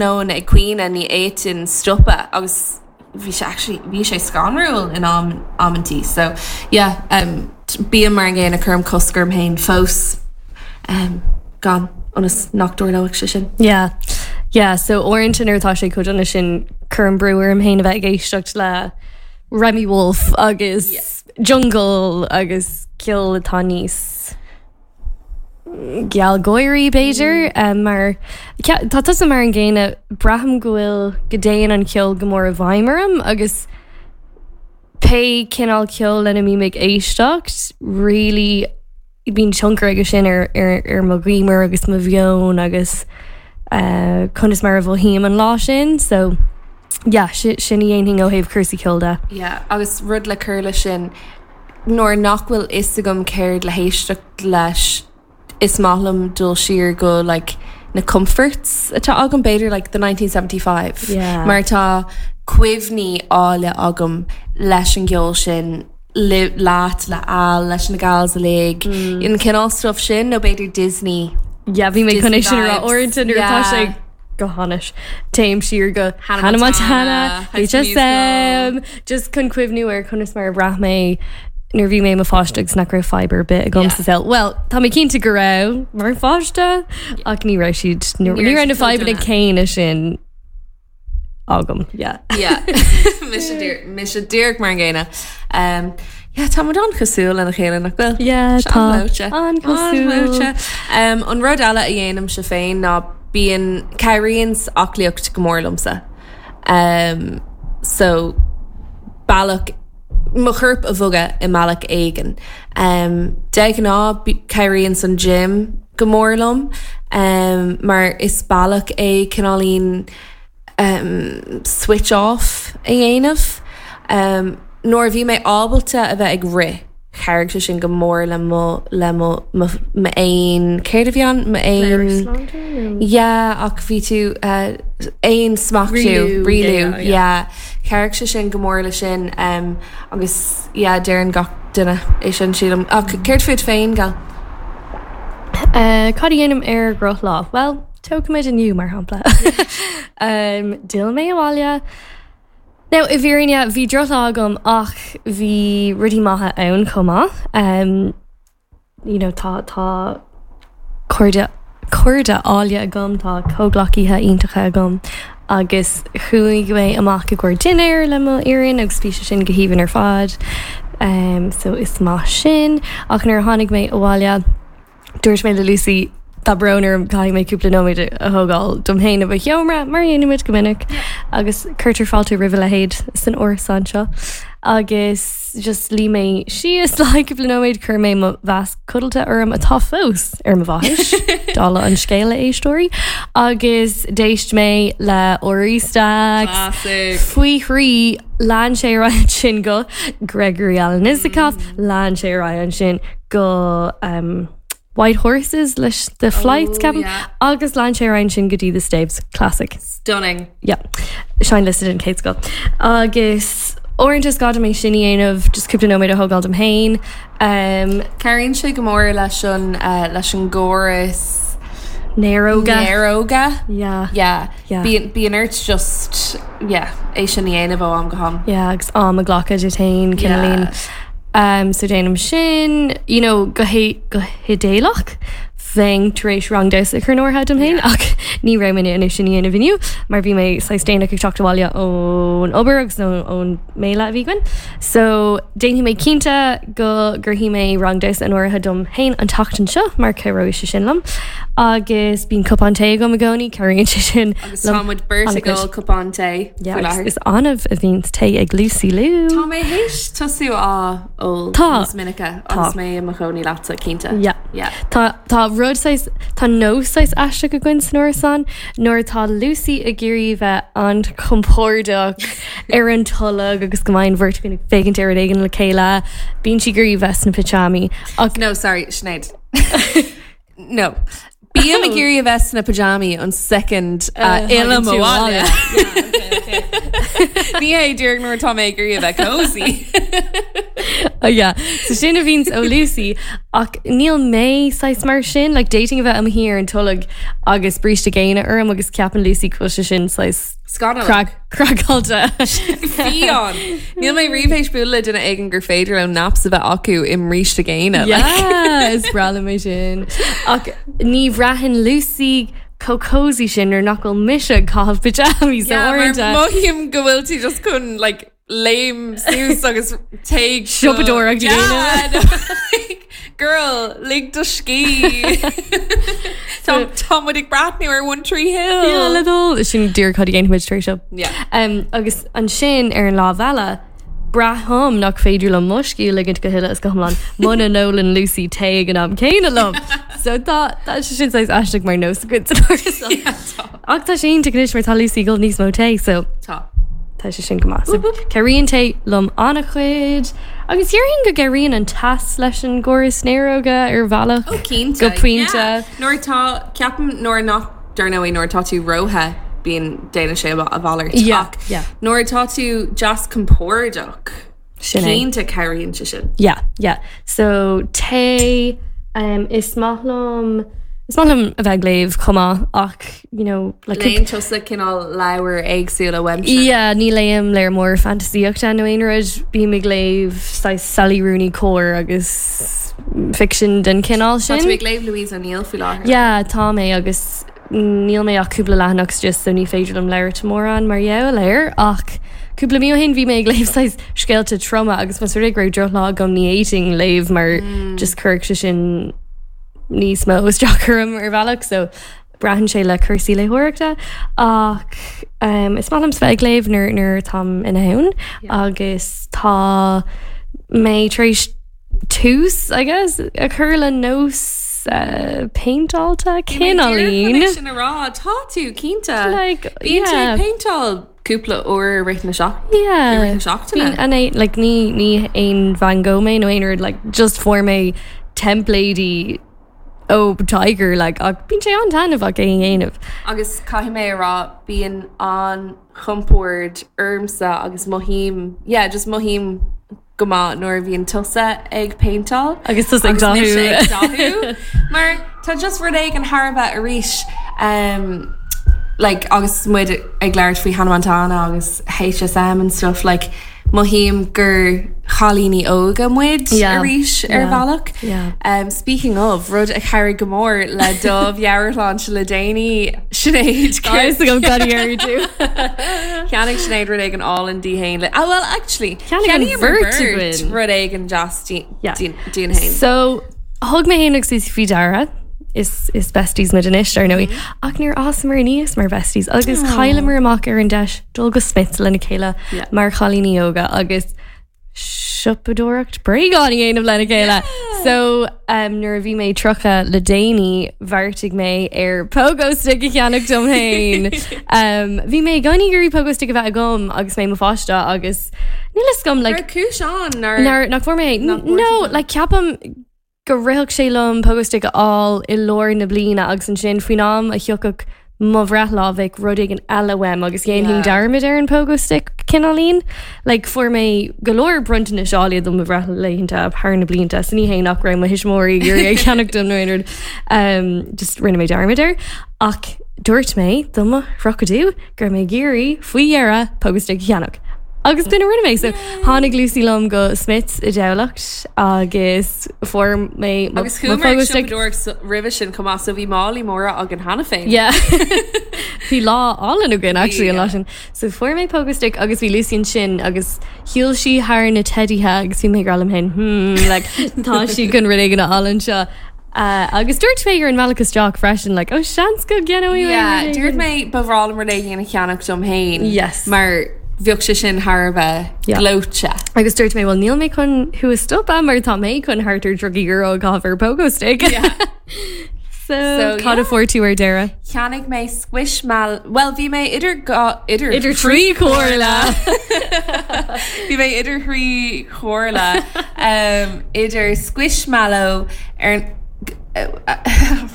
Tráthnóna ag caoineadh ní fhéadfainn stopadh agus bhí sé actually bhí sé scanrúil in am amantaí so yeah um bím mar an gcéanna cuirim cosc orm féin fós um gan ionas nach dtarlóidh sé sin. Yeah yeah so uaireanta nuair atá sé chomh dona sin cuirim brú orm féin a bheith ag éisteacht le Remi Wolf agus yeah. Jungle agus ceol atá níos gealgháirí b'fhéidir mar tá tusa mar an gcéanna, braithim go bhfuil, go dtéann an ceol go mór i bhfeidhm orm agus pé cineál ceoil lena mbím ag éisteacht really bíonn tionchar aige sin ar ar ar mo ghiúmar agus mo mheon agus conas mar a mhothaím an lá sin so yeah sin a dhéanfainn ó thaobh cúrsaí ceoil de. Yeah agus rud le cur leis sin, Nuair nach bhfuil fhios agam céard le héisteacht leis is maith liom dul siar go like na comforts atá agam, b'fhéidir like the 1975 Yeah. mar tá cuimhní áille agam leis an gceol sin, le, leat, le Al, leis na gals uilig, an cineál stuff sin nó b'fhéidir Disney. Yeah, bhí mé chun é sin a rá Disney vibes. uaireanta nuair atá Yeah. sé go hainnis. Téim siar go Hannah Hannah Montana, Montana, High School HSM, just chun cuimhniú ar conas mar a bhraith mé nuair a bhí mé i mo pháiste agus nach raibh fadhb ar bith agam Yeah. sa saol. Well, tá mé cinnte go raibh mar pháiste ach ní raibh siad ní Ní raibh raibh na siad chomh fadhbanna dona. céanna sin agam. Yeah. Yeah. Mise díreach mise díreach mar an gcéanna. Um, yeah, tá muid an-chosúil lena chéile nach bhfuil? Yeah, Sé tá. an-ghleoite. An-chosúil. An-ghleoite. Um, an rud eile a dhéanaimse féin ná bíonn cabhraíonn aclaíocht go mór liomsa. Um, so bealach mo chorp a bhogadh i mbealach éigin. Um, de ghnáth cabhraíonn an gym go mór liom um, mar is bealach é cineáilín um, switch off a dhéanamh. Um, nuair a bhí mé ábalta a bheith ag rith, chabhraigh sé sin go mór le mo le mo mo m'aon céard a bhí ann? M'aon Yeah, ach bhí tú uh, aonsmachtú Rialú, rialú yeah, yeah. yeah. Chabhraigh sé sin go mór le sin um, agus yeah, deireann gach duine é sin sílim. Ach céard fút féin, Gal? Uh, cad a dhéanaim ar dhrochlá? Well, tógfaimid inniu mar shampla. um, D'fhill mé abhaile. Now, i bhfírinne, bhí drochlá agam ach bhí rudaí maithe ann chomh maith. Um, you know, tá, tá cairde, cairde áille agam, tá comhghleacaithe iontacha agam agus chuaigh mé amach i gcomhair dinnéir le mo fhoireann agus bhí sé sin go haoibhinn ar fad. Um, so is maith sin. Ach nuair a tháinig mé abhaile, Dúirt mé le Lucy, tá brón orm, caithfidh mé cúpla nóiméad a thógáil dom féin i mo sheomra, mar a dhéanaimid go minic, agus cuirtear fáilte roimh a leithéid san árasán seo. Agus just luigh mé síos le haghaidh cúpla nóiméad, chuir mé mo mhasc codlata orm atá fós ar mo bhaithis, dála an scéil a éisteoirí, agus d'éist mé le Rory Stacks. Classic. Faoi thrí, lean sé ar aghaidh ansin go Gregory Alan Isakov, lean sé ar aghaidh ansin go um, White Horses leis The Flights Oh, ceapaim yeah. agus lean sé ar aghaidh ansin go dtí The Staves classic. Stunning. Yeah. Seinnliosta den chéad scoth. Agus uaireanta is gá dom é sin a dhéanamh just cúpla nóiméad a thógáil dom féin. Um, Cabhraíonn sé go mór leis an uh, leis an gcóras Néaróga. Néaróga. Yeah. Yeah. Yeah. Bíonn bíonn ort just yeah, é sin a dhéanamh ó am go ham. Yeah, agus am a ghlacadh duit féin cineáilín. Yeah. Um, so déanaim sin, you know, go hé go hidéalach bheinn tar éis rang damhsa a chur in áirithe dom féin ach ní raibh mé in ann é sin a dhéanamh inniu mar bhí mé saghas déanach ag teacht abhaile ón obair agus ón mbéile a bhí againn. So déanfaidh mé cinnte go gcuirfidh mé rang damhsa in áirithe dom féin an tseachtain seo mar cabhróidh sé sin liom. Agus bíonn cupán tae agam i gcónaí, cabhraíonn sé sin Agus tá muid beirt ag ól cupán tae Yeah, faoi agus láthair. is annamh a bhíonns tae ag Lucy Lou. Tá mé théis tosú á ól Tá. níos minice Tá. agus mé i mo chónaí leatsa, cinnte. Yeah. Yeah. Tá, tá rud saghas, tá nós saghas aisteach againn san árasán nuair atá Lucy ag iarraidh bheith an-chompordach ar an tolg agus go mbeidh an bheirt againn ag féachaint ar rud éigin le chéile, bíonn sí ag iarraidh bheith sna pitseámaí. Ach No, sorry, Sinéad. No. Bím ag iarraidh a bheith sna pajamaí an soicind a fhillim abhaile. Ní hé díreach nuair atá mé ag iarraidh a bheith cozy. Oh yeah. So sin a bhíonns ó Lucy ach níl mé saghas mar sin, like d'fhéadfainn a bheith i mo shuí ar an tolg agus bríste géine orm agus ceapann Lucy go bhfuil sé sin saghas Scannalach. craiceáilte. Fiáin. Níl mé riamh théis bualadh le duine éigin gur féidir leo naps a bheith acu i mbríste géine. Yeah, is breá liom é sin. Ach ní bhraitheann Lucy chomh cozy sin nuair nach bhfuil mise ag caitheamh pyjamas so Yeah, mar uaireanta. mothaím go bhfuil tú just chun like léim suas agus téigh Siopadóireacht a Yeah, no, like, Girl, lig do scíth. Tá tá muid ag breathnú ar One Tree Hill. Yeah, le dul. Sin díreach cad a dhéanfaimid tar éis seo. Yeah. Um, agus ansin ar an lámh eile, braithim nach féidir liom mo scíth a ligint go huile is go hiomlán muna n-ólann Lucy tae ag an am céanna liom. So tá tá sé sin saghas aisteach mar nós againn san áras. Yeah, tá. Ach tá sé iontach anois mar tá Lucy ag ól níos mó tae, so Tá. tá sé sin go maith. So cabhraíonn tae liom an-chuid. Agus déarfainn go gcabhraíonn an teas leis an gcóras néaróga ar bhealach. Ó cinnte. Go pointe. Yeah. Nuair atá, ceapaim nuair nach, dar ndóigh nuair atá tú róthe bíonn, déanann sé a mhalairt. Yeah, Ach yeah. nuair atá tú deas compordach, Sin é. cinnte cabhraíonn sé sin. Yeah, yeah. So tae, um, is maith liom, is maith liom a bheith ag léamh chomh maith ach, you know, like Léann tusa cineál leabhair éagsúla uaimse. Yeah, ní léim leabhar mór fantaisíochta nó aon rud, bím ag léamh saghas Sally Rooney cóir agus ficsean den chineál Tá sin. tú ag léamh Louise O'Neill faoi láthair. Yeah, tá mé agus Níl mé ach cúpla leathanach istigh so ní féidir liom labhairt mórán mar gheall air ach cúpla mí ó shin bhí mé ag léamh saghas scéalta troma agus más rud é go raibh drochlá agam ní fhéadfainn léamh mar just chuirfeadh sé sin níos mó isteach orm ar bhealach so braitheann sé le cúrsaí léitheoireachta ach um, is maith liom bheith ag léamh nuair nuair atáim in ann agus tá mé tar éis tús, I guess, a chur le nós péinteáilte, cineáilín. Sin a rá, tá tú cinnte. Like, Bíonn tú yeah. ag péinteáil cúpla uair i rith na seach- Yeah. i rith na seachtaine. Bíonn an é like ní ní haon Van Gogh mé nó aon rud like just fuair mé teimpléidí ó Tiger like ach bíonn sé an-taitneamhach é a dhéanamh. Agus caithfidh mé a rá bíonn an-chompord ormsa agus mothaím, yeah, just mothaím go maith nuair a bhíonn tusa ag péinteáil Agus tusa ag agus mise dathú. ag dathú. Mar tá just rud éigin thar a bheith arís um, like, agus muid ag labhairt faoi Hannah Montana agus HSM and stuff like, mothaím gur chailíní óga muid Yeah. arís ar Yeah. bhealach. Yeah. Um, speaking of, rud a chabhraigh go mór le do mheabhairshláinte le déanaí, Sinéad. Tá a fhios agam cad a déarfaidh tú. Cheannaigh Sinéad rud éigin álainn di féin le ah well actually Cheannaigh an cheannaíomar bheirt againn. rud éigin deas di Yeah. dínn féin. So thug mé féin agus Lucy faoi deara is is besties muid anois ar ndóigh ach níor fhásamar aníos mar besties agus chailleamar amach ar an deis dul go Smiths lena chéile Yeah. mar chailíní óga agus siopadóireacht bréagán a dhéanamh lena chéile. So um, nuair a bhí mé 30 le déanaí bheartaigh mé ar pogo stick a cheannach dom féin. Um, bhí mé i gcónaí ag iarraidh pogo stick a bheith agam agus mé i mo pháiste agus níl a fhios agam like, Raibh cúis ann nár nár nach bhfuair mé Nach bhfuair No, tú é? like ceapaim go rithfeadh sé liom pogo stick a fháil i lár na bliana agus ansin faoin am a thiocfadh mo bhreithlá bheadh rud éigin eile uaim agus dhéanfainn Yeah. dearmad ar an pogo stick cineáilín. Like fuair mé go leor bronntanais áille do mo bhreithlaethanta thar na blianta so ní hé nach raibh mo thuismitheoirí ag iarraidh é a cheannach dom nó aon rud. Um, just rinne mé dearmad air. Ach dúirt mé do mo thríochadú go raibh mé ag iarraidh faoi dheireadh pogo stick a cheannach. Agus b'in a rinne mé. So tháinig Lucy liom go Smiths i dTamhlacht agus fuair mé mo Agus mo chuamar ag pogo stick. siopadóireacht roimhe sin chomh maith so bhí málaí móra againn cheana féin. Yeah. Bhí lá álainn againn actually an lá Yeah. sin. So fuair mé pogo stick agus bhí Lucy ansin agus shiúil sí thar na teidithe agus bhí mé ag rá liom féin hmm like tá sí chun rud éigin a fháil anseo. Uh, agus dúirt mé ar an mbealach isteach freisin like oh seans go gceannóidh mé Yeah, rud dúirt éigin. mé ba bhreá liom rud éigin a cheannach dom féin. Yes. Mar bheadh sé sin thar a bheith Yeah. gleoite. Agus dúirt mé well níl mé chun thú a stopadh mar tá mé chun thart ar €30 a chaitheamh ar pogo stick. Yeah. So, So, cad a yeah. fuair tú ar deireadh? Cheannaigh mé squishmal well bhí mé idir dhá idir Idir trí chomhairle. Bhí mé idir thrí chomhairle um, idir squishmallow ar an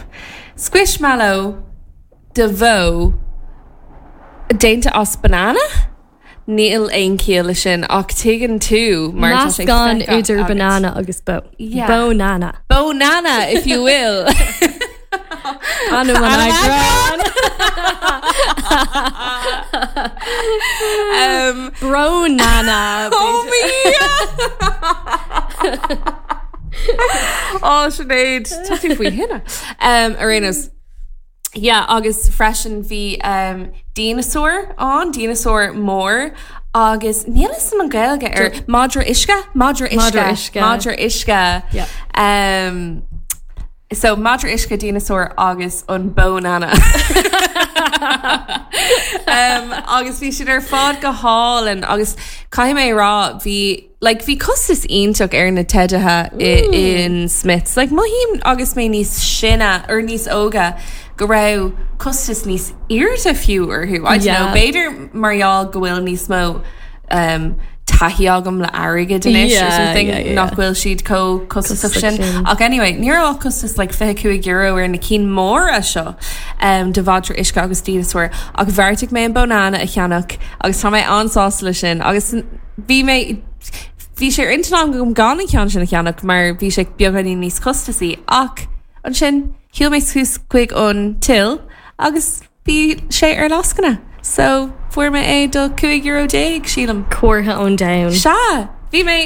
squishmallow de bhó déanta as banana? Níl aon chiall leis sin ach tuigeann tú mar tá sé Meascán feicthe idir agat. banana agus bó. Yeah. Bónana. Bónana, if you will. Ainm an eagráin. Um, Brónana. Oh me! Ó Sinéad, tá tú faoi thine. Um, ar aon nós, Yeah, agus freisin bhí um, dinosór ann, dinosór mór, agus níl fhios agam an Gaeilge ar madra uisce? Madra uisce. Madra uisce. Madra uisce. Yeah. Um, so madra uisce, dinosór agus an bónana. um, agus bhí siad ar fad go hálainn agus caithfidh mé a rá bhí Like bhí costas iontach ar na teidithe in Smyths. Like mothaím agus mé níos sine or níos óga go raibh costas níos airde fiú orthu. I don't know, b'fhéidir mar gheall go bhfuil níos mó um, taithí agam le airgead anois or something nach bhfuil siad chomh costasach sin. Ach anyway, ní raibh ach costas like €25 ar na cinn móra seo um, de mhadra uisce agus dinosór ach bheartaigh mé an Bónana a cheannach agus tá mé an-sásta leis sin agus Bhí mé, bhí sé ar intinn agam gan an ceann sin a cheannach mar bhí sé beagáinín níos costasaí ach ansin shiúil mé suas chuig an till agus bhí sé ar lascaine so fuair mé é do €15 sílim. Comhartha ón domhan. Sea! Bhí mé,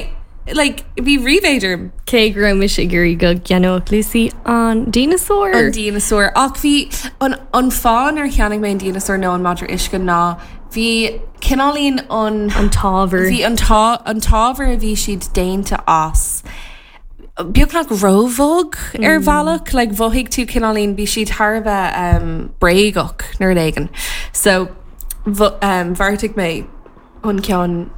like, bhí ríméad orm. Cé go raibh mise ag iarraidh go gceannódh Lucy an dinosór. An dinosór. Ach bhí, an, an fáth nár cheannaigh mé an dinosór nó an madra uisce ná Bhí cineáilín an. An t-ábhar. Bhí an an t-ábhar a bhí siad déanta as beagnach róbhog ar bhealach, like mhothaigh tú cineáilín, bhí siad thar a bheith bréagach nó rud éigin. So bheartaigh mé an ceann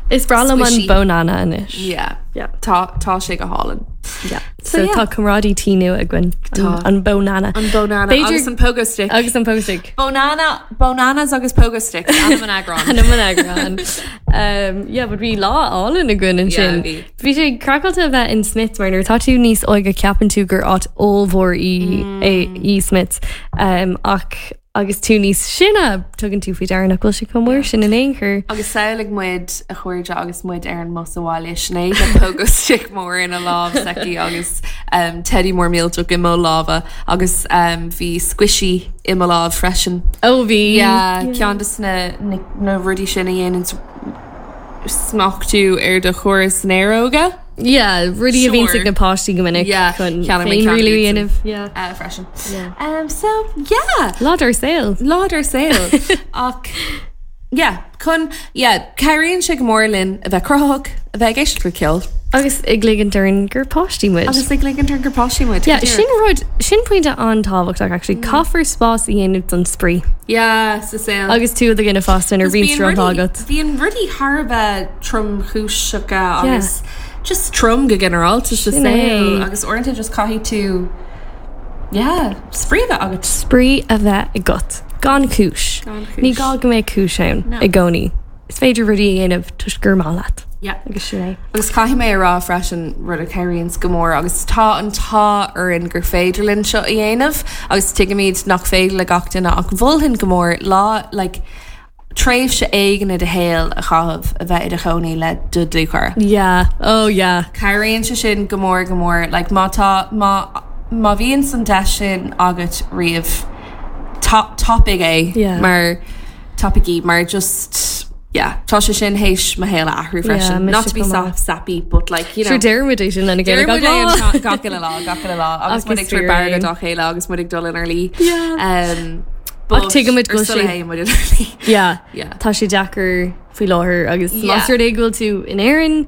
Is breá liom an Bónana anois. Yeah. Yeah. Tá tá sé go hálainn. Yeah. So tá comrádaí tí nua againn. Tá. An Bónana. An Bónana agus an Pogo Stick. Agus an Pogo Stick. Bónana, Bónanas agus Pogo Sticks, ainm an eagráin. Ainm an eagráin. Um, yeah, but bhí lá álainn againn ansin. Yeah, bhí. Bhí sé craiceáilte a bheith in Smyths mar nuair atá tú níos óige ceapann tú gur áit ollmhór í é í Smyths. Um, ach agus tú níos sine tugann tú faoi deara nach bhfuil sé chomh mór sin in aon chor. Agus samhlaigh muid, a chairde, agus muid ar an mbus abhaile, Sinéad le Pogo Stick mór ina lámh s'aici agus um, teidí mór millteach i mo lámha agus um, bhí squishy i mo lámh freisin. Ó bhí. Yeah, ceann de na, na, na rudaí sin a dhéanann smachtú ar do chóras néaróga. Yeah, rudaí a bhíonn Sure. ag na páistí go minic Yeah, chun cheannaigh mé ceann féinrialú a iadsan. dhéanamh. Yeah. Uh, freisin. Yeah. Um, so, yeah. Lá dár saol. Lá dár saol. Ach, yeah, chun, yeah, cabhraíonn sé go mór linn a bheith cruthaitheach, a bheith ag éisteacht le ceol. Agus ag ligint orainn gur páistí muid. Agus ag ligint orainn gur páistí muid. Yeah, sin rud, sin pointe an-tábhachtach actually. Caithfear spás a dhéanamh don spraoi. Yeah, sa saol. Agus tú i do dhuine fásta nuair a bhíonn Bíonn drochlá rudaí- agat. Bíonn rudaí thar a bheith tromchúiseacha agus just trom go ginearálta sa Sin é. saol agus uaireanta just caithfidh tú yeah, spraoi a bheith agat. Spraoi a bheith agat. Gan cúis. Gan cúis. Ní gá go mbeadh cúis ann No. i gcónaí. Is féidir rudaí a dhéanamh toisc gur maith leat. Yeah. Agus sin é. Agus caithfidh mé a rá freisin rud a chabhraíonns go mór agus tá an t-ádh orainn gur féidir linn seo a dhéanamh agus tuigimid nach féidir le gach duine ach mholfainn go mór lá like tréimhse éigin i do shaol a chaitheamh a bheith i do chónaí le do dhlúthchara. Yeah. Oh yeah. Cabhraíonn sé sin go mór go mór like má tá má má bhíonn an deis sin agat riamh ta tapaigh é Yeah. mar tapaigh í mar just yeah tá sé sin théis mo shaol a athrú freisin. mise Not to be chomh sap maith. sappy but like you know. Sure deirimid é sin lena chéile Deirimid gach é lá. an gach uile lá, gach uile lá agus Ach muid is ag tabhairt fíor barróga é. dá chéile agus muid ag dul inár luí. Yeah. Um, Ach tuigimid go ar bhfuil sula sé- théann muid inár luí. Yeah. Yeah. Tá sé deacair faoi láthair agus Yeah. más rud é go bhfuil tú in Éirinn,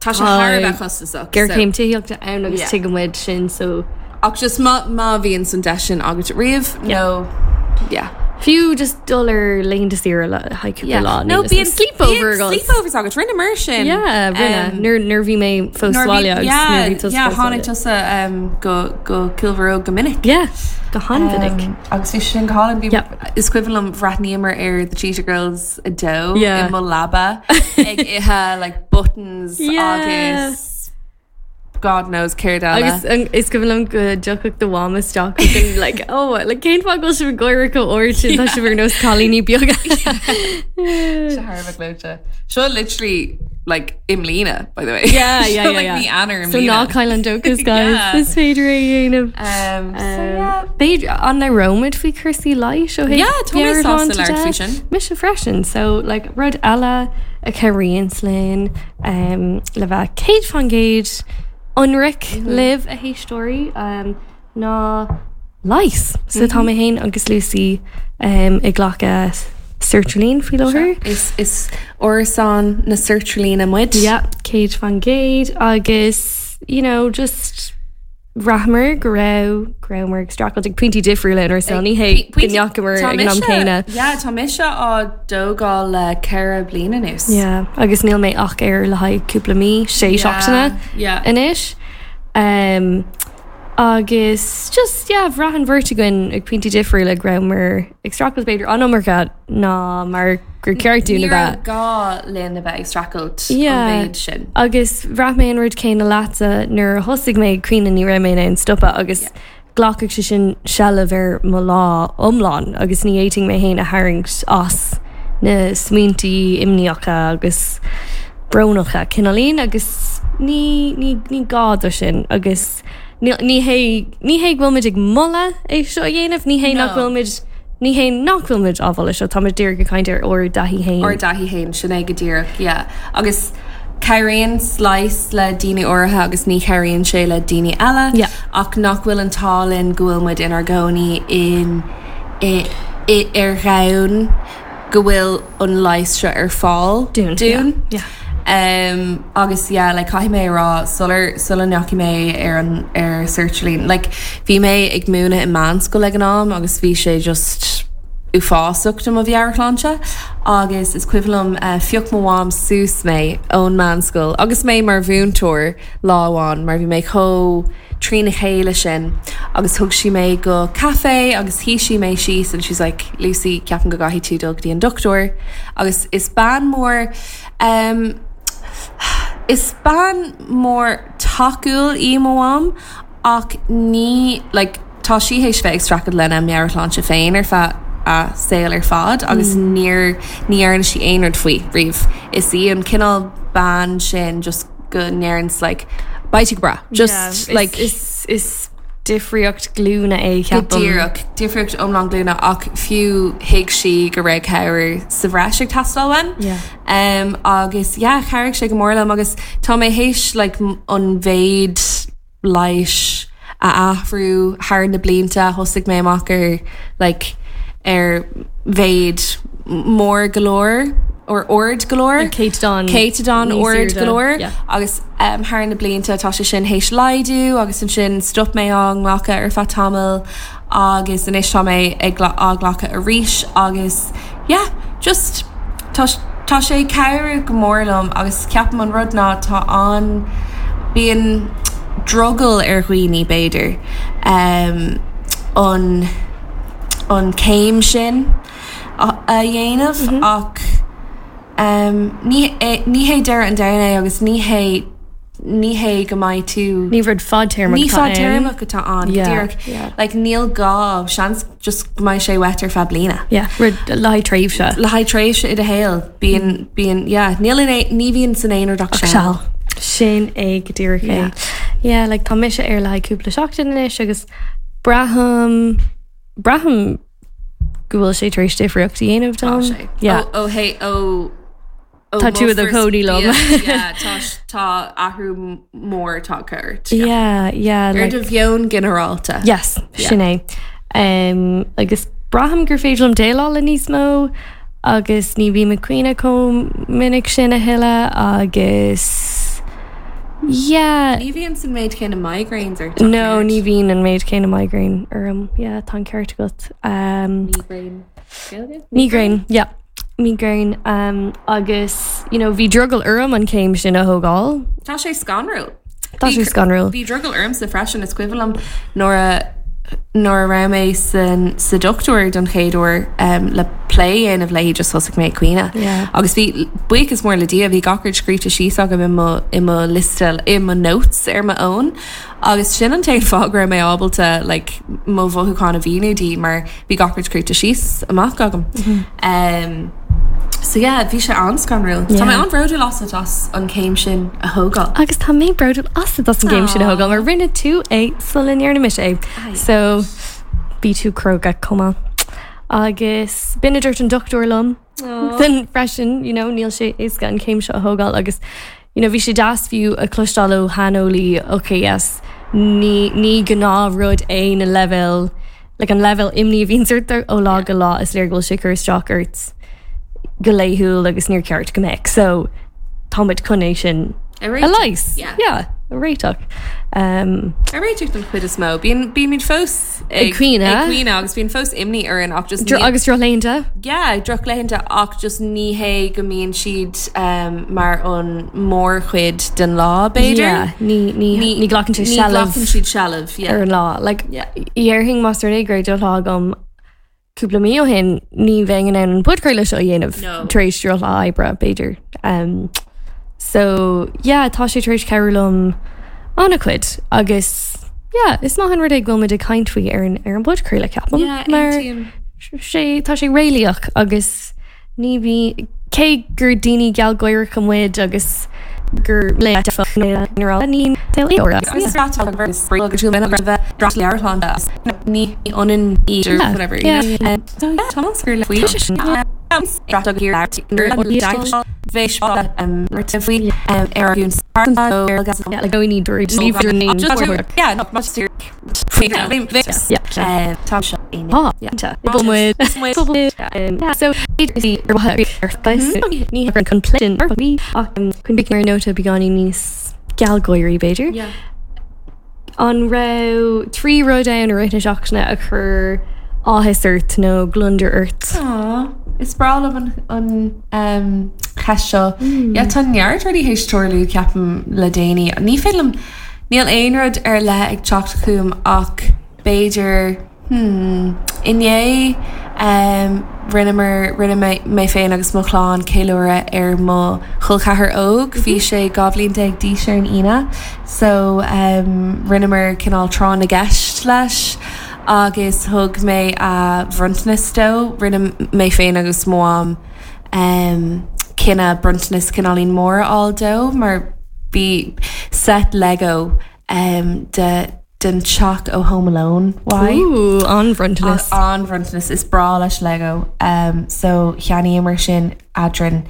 Tá sé thar a bheith costasach. Géarchéim tithíochta ann agus Yeah. tuigimid sin so Ach just má má bhíonn an deis sin agat riamh nó yeah. Fiú just dul ar laethanta saoire le haghaidh cúpla lá No nó bíonn sleepover bíonn agat. sleepovers agat rinne mar sin. Yeah, rinne. Um, Nuair nuair bhí mé fós nuair sa bhí- bhaile agus yeah, nuair bhí tusa yeah, fós sa tháinig bhaile. tusa um, go go Cill Bharróg go minic. Yeah, go han-mhinic. Um, agus bhí sin go hálainn bhí Yeah. is cuimhin liom bhreathnaíomar ar The Cheetah Girls 2 Yeah. i mo leaba ag ithe like buttons Yeah. agus God knows céard eile. Agus is cuimhin liom go dtiocfadh do mham isteach chugainn like oh like cén fáth go bhfuil sibh ag gáire chomh ard sin tá sibh ar nós cailíní beaga. Sé thar a bheith gleoite. Seo literally like i mbliana by the way. Yeah, yeah, Seo yeah, like yeah. mí Eanáir i So ná mbliana. caill an dóchas guys, Yeah. is féidir é a dhéanamh. So yeah. B'fhéidir an labhróimid faoi chúrsaí leighis ó thaobh Yeah, tá mé sásta meabhairshláinte labhairt de? faoi sin. Mise freisin, so like rud eile a chabhraíonns linn um, le bheith 100% ionraic libh a héisteoirí um, ná leigheas. So tá mé féin agus Lucy um, ag glacadh sertraline faoi láthair. Is is árasán na sertraline muid. Yeah, 100% agus you know, just bhraitheamar go raibh go rabhamar ag streachailt ag pointí difriúla inár saol. Ní hé go ndeacamar ag an am céanna. Yeah, tá mise á dtógáil le 4 bliana anuas. Yeah, agus níl mé ach air le haghaidh cúpla mí, sé seachtaine anois. Um, agus just yeah, bhraith an bheirt againn ag pointí difriúla go rabhamar ag streachailt b'fhéidir an iomarca ná mar gur ceart dúinn a Ní raibh bheith. gá linn a bheith ag streachailt an Yeah. mhéid sin. Agus bhraith mé an rud céanna leatsa nuair a thosaigh mé ag caoineadh ní raibh mé in ann stopadh agus ghlacfadh sé sin seilbh ar mo lá iomlán agus ní fhéadfainn mé féin a tharraingt as na smaointí imníocha agus brónacha cineáilín agus ní ní ní gá do sin agus ní ní hé ní hé go bhfuil muid ag moladh é seo a dhéanamh, ní hé nach bhfuil muid ní hé nach bhfuil muid á mholadh seo, táimid díreach ag caint ar ár dtaithí féin. Ár dtaithí féin, sin é go díreach, yeah. Agus cabhraíonn leigheas le daoine áirithe agus ní chabhraíonn sé le daoine eile. Yeah. Ach nach bhfuil an t-ádh linn go bhfuil muid inár gcónaí in i i ar dhomhan go bhfuil an leigheas seo ar fáil Dúinn. dúinn. Yeah. Um, agus yeah, like, caithfidh mé a rá sular sula ndeachaigh mé ar an ar sertraline, like, bhí mé ag múineadh i meánscoil ag an am agus bhí sé just uafásach do mo mheabhairshláinte agus is cuimhin liom uh, phioc mo mham suas mé ón meánscoil agus mé mar mhúinteoir lá amháin mar bhí mé chomh trína chéile sin agus thug sí mé go caife agus shuigh sí mé síos and she's like Lucy ceapaim go gcaithfidh tú dul go dtí an dochtúir agus is bean mór um, is bean mór tacúil í mo mham ach ní like, tá sí théis bheith ag streachailt lena meabhairshláinte féin ar feadh a saol ar fad agus níor ní dhearna sí aon rud faoi riamh. Is í an cineál bean sin just go ndeireann like beidh tú go breá. Just Yeah, like is is difríocht glúine é Go ceapaim. díreach, difríocht iomlán glúine ach fiú thuig sí go raibh cabhair sa bhreis ag teastáil uaim. Yeah. Um, agus yeah, chabhraigh sé go mór liom agus tá mé théis like, an mhéid leighis a athrú thar na blianta thosaigh mé amach ar like, ar mhéid mór go leor or ard go leor. Céatadán Céatadán níos ard go airde, leor yeah. agus um, thar na blianta tá sé sin théis laghdú agus ansin stop mé á nglacadh ar feadh tamaill agus anois tá mé ag á glacadh arís agus yeah, just tá tá sé ag cabhrú go mór liom agus ceapaim an rud ná tá an bíonn drogall ar dhaoine b'fhéidir um, an an céim sin a a dhéanamh ach um, ní ní hé deireadh an domhain é agus ní hé ní hé go mbeidh tú Ní rud fadtéarmach Ní atá ann. fadtéarmach atá ann, go Yeah, díreach. yeah. Like, níl gá, seans just go mbeidh sé uait ar feadh bliana. Yeah, rud le haghaidh tréimhse. Le haghaidh tréimhse i do shaol, bíonn, bíonn, yeah, níl in aon, ní bhíonn san aon rud ach seal. Seal. Sin é go díreach é. Yeah. Yeah, like tá mise air le haghaidh cúpla seachtain anois agus braithim, braithim go bhfuil sé tar éis difríocht a dhéanamh Tá dom. sé. Yeah. Ó, ó, hé, ó, ó Tá tú i do mo chónaí liom. Yeah, tá, tá athrú mór tagtha ort. Yeah, yeah. Ar Like, do mheon ginearálta. yes, sin é. Um, agus braithim gur féidir liom déileáil le níos mó agus ní bhím ag caoineadh chomh minic sin a thuilleadh agus yeah. Ní bhíonn san méid céanna migraines ort. No, ní bhíonn an méid céanna migraine orm. Yeah, tá an ceart agat. Um, Migraine. Gaeilge? Migraine, yeah. Migraine um, agus you know, bhí drogall orm an céim sin a thógáil. Tá sé scanrúil. Tá sé scanrúil. Bhí drogall ormsa freisin is cuimhin liom nuair a nuair a raibh mé san sa dochtúir don chéad uair um, le plé a dhéanamh léi just thosaigh mé ag caoineadh. Yeah. Agus bhí buíochas mór le Dia bhí gach rud scríte síos agam i mo i mo liosta i mo notes ar mo fhón agus sin an t-aon fáth go raibh mé ábalta like, mo mhothúcháin a mhíniú di mar bhí gach rud scríte síos amach agam. Um, so yeah, bhí sé an-scanrúil. Tá mé Yeah. an-bhródúil asat as an céim sin a thógáil. Agus tá mé bródúil asat as an gcéim sin a thógáil mar rinne tú é sula ndearna mise é. So bhí tú cróga chomh maith. Agus b'in a dúirt an dochtúir liom then freisin, you know, níl sé éasca an chéim seo a thógáil agus you know, bhí sé deas fiú a chloisteáil ó shaineolaí, ok yes, ní, ní gnáthrud é na leibhéil, like an leibhéal imní a bhíonns ort ó lá go lá, is léir go bhfuil sé ag cur isteach ort go laethúil agus níor cheart go mbeadh. So tá muid chun é sin A a réiteach, leigheas. yeah. Yeah, a réiteach. Um, A réiteach don chuid is mó. Bíonn bímid fós Ag caoineadh. Ag caoineadh agus bíonn fós imní orainn ach just dro- agus drochlaethanta. Yeah, drochlaethanta ach just ní hé go mbíonn siad um, mar an mórchuid den lá b'fhéidir. Yeah, ní, ní, ní ghlacann sé ní seilbh ghlacann siad seilbh, yeah. ar an lá. Like, Yeah. Déarfainn más rud é go raibh drochlá agam cúpla mí ó shin ní bheinn in ann an podchraoladh seo a dhéanamh No. tar éis drochlá oibre, b'fhéidir. Um, so, yeah, tá sé tar éis cabhrú liom an-chuid agus yeah, is maith an rud é go bhfuil muid ag caint faoi ar an, ar an bpodchraoladh ceapaim. Yeah, mar aontaím. sé, tá sé réalaíoch agus Ní bhí, cé gur daoine gealgháireacha muid agus gur Ar nóta beagáinín níos gealgháirí b'fhéidir. An raibh 3 rud ann i rith na seachtaine a chuir áthas ort nó gliondar ort? Aww, is breá liom an cheist seo. Yeah, tá neart rudaí théis tarlú ceapaim le déanaí. Ní féidir liom Níl aon rud ar leith ag teacht chugam ach b'fhéidir, hmm, inné em rinneamar, rinne mé, mé féin agus mo chlann ceiliúradh ar mo chol ceathar óg, bhí sé 12 bhliain d'aois ar an Aoine so em rinneamar cineál tráth na gceist leis agus thug mé a bhronntanas dó, rinne mé féin agus mo mham em cinneadh bronntanas cineáilín mór a fháil dó mar bhí set Lego em de den teach ó Home Alone uaidh. Ooh, an-bhronntanas. An-bhronntanas. Is breá leis Lego. Em so cheannaíomar sin eadrainn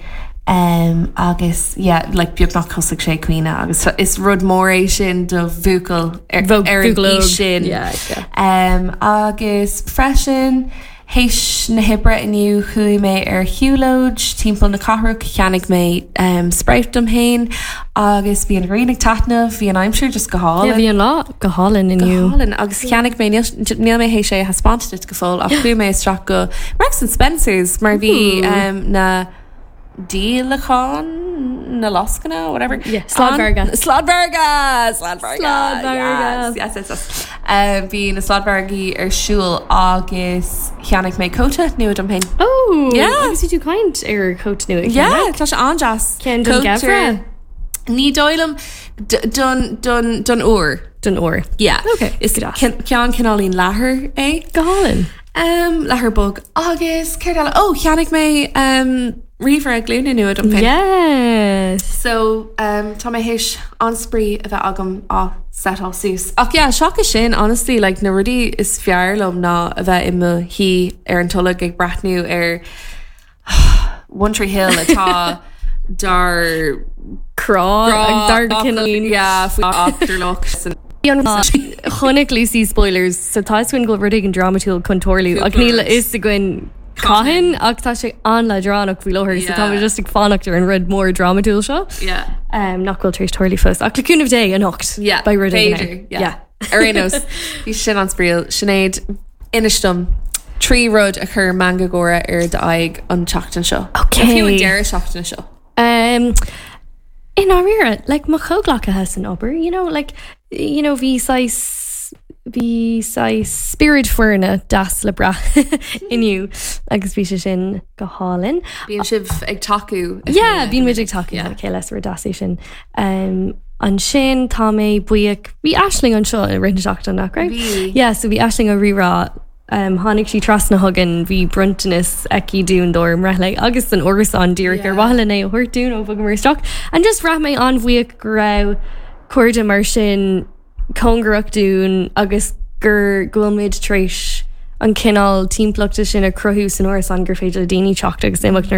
em agus yeah like beagnach thosaigh sé ag caoineadh agus is rud mór é sin do bhuachaill ar ar an aois sin. Yeah, yeah. Em agus freisin Théis na hoibre inniu chuaigh mé ar shiúlóid timpeall na cathrach, cheannaigh mé sprout dom fhéin agus bhí an ghrian ag taitneamh, bhí an aimsir just go hálainn. Yeah, bhí an lá go hálainn inniu. Go hálainn agus cheannaigh mé, níl mé théis é a thaispeáint duit go fóill ach chuaigh mé isteach go Marks and Spencer's mar bhí na díolacháin, na lascaine, whatever. Yeah, sladmhargadh. Sladmhargadh! Sladmhargadh! Sladmhargadh! Yes, yes, yes, yes. Um, bhí na sladmhargaí ar siúl agus cheannaigh mé cóta nua dom féin. Oh! Yeah. Agus bhí tú ag caint ar chóta nua a Yeah, cheannach. tá sé an-deas. Ceann don Cóta- gheimhreadh? Ní dóigh liom d- don, don, don úr. Don úr. Yeah. Okay, Is go deas. ceann cineáilín leathair é. Go hálainn. Um, leathar bog. Agus céard eile? Ó, cheannaigh mé um, ríomhaire glúine nua dom féin. Yes! So, um, tá mé théis an-spraoi a bheith agam á setáil suas. Ach yeah, seachas sin, honestly, like, na rudaí is fearr liom ná a bheith i mo shuí ar an tolg ag breathnú ar One Tree Hill atá dár Crá ag dár cineál. Yeah, faoi eachtarlach san Chonaic Lucy spoilers, so tá fhios againn go bhfuil rud éigin drámatúil chun tarlú ach níl a fhios againn cathain ach tá sé an-leadránach faoi láthair so tá muid just ag fanacht ar an rud mór drámatúil seo Yeah. um, nach bhfuil tar éis tarlú fós. Ach le cúnamh Dé anocht Yeah, beidh rud éigin b'fhéidir, ann. yeah. Yeah. Ar aon nós, bhí sin an-spraíúil. Sinéad, inis dom 3 rud a chuir meangadh gáire ar d'aghaidh an tseachtain seo. Okay. Nó fiú an deireadh seachtaine seo. Um, i ndáiríre, like, mo chomhghleacaithe san obair, you know, like, you know, bhí saghas, Bhí saghas spiorad foirne deas le brath inniu agus bhí sé sin go hálainn. Bíonn sibh ag tacú a chéile. Yeah, bíonn muid ag tacú le chéile, is rud deas é sin. Ansin tá mé buíoch, bhí Aisling anseo i rith na seachtaine, nach raibh? Bhí. Yeah, so bhí Aisling ó Rí-Rá, tháinig sí trasna chugainn, bhí bronntanas aici dúinn dár mbreithlae agus don árasán díreach ar mhaithe linn é a thabhairt dúinn ó bhogamar isteach. And just bhraith mé an-bhuíoch go raibh cairde mar sin, cóngarach dúinn agus gur go bhfuil muid tar éis an cineál timpeallachta sin a chruthú san árasán gur féidir le daoine teacht agus imeacht nuair.